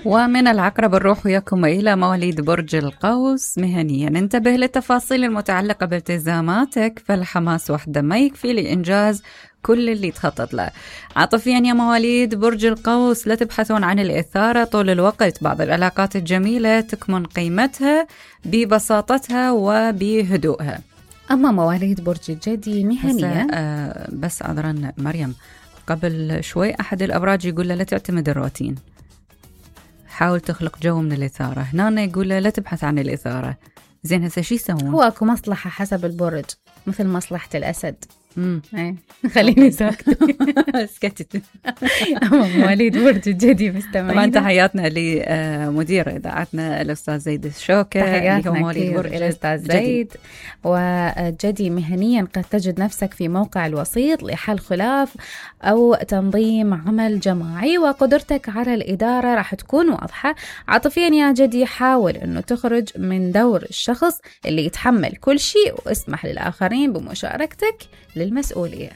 ومن العقرب نروح وياكم إلى مواليد برج القوس. مهنيا انتبه للتفاصيل المتعلقة بالتزاماتك، فالحماس وحده ما يكفي لإنجاز كل اللي تخطط له. عاطفيا يا مواليد برج القوس لا تبحثون عن الإثارة طول الوقت، بعض العلاقات الجميلة تكمن قيمتها ببساطتها وبهدوءها. أما مواليد برج الجدي مهنيا بس عذرا مريم، قبل شوي أحد الأبراج يقول له لا تعتمد الروتين، حاول تخلق جو من الإثارة. هنا يقول له لا تبحث عن الإثارة. زين هسه شو يسوون؟ هو أكو مصلحة حسب البرج، مثل مصلحة الأسد. خليني سكتت. مواليد برج الجدي مستمعين. طبعا تحياتنا لمدير إذاعتنا الأستاذ زيد الشوكة. تحياتنا كثير إلى الأستاذ زيد. وجدي مهنيا قد تجد نفسك في موقع الوسيط لحل خلاف أو تنظيم عمل جماعي، وقدرتك على الإدارة راح تكون واضحة. عاطفيا يا جدي حاول أنه تخرج من دور الشخص اللي يتحمل كل شيء، واسمح للآخرين بمشاركتك للمسؤولية.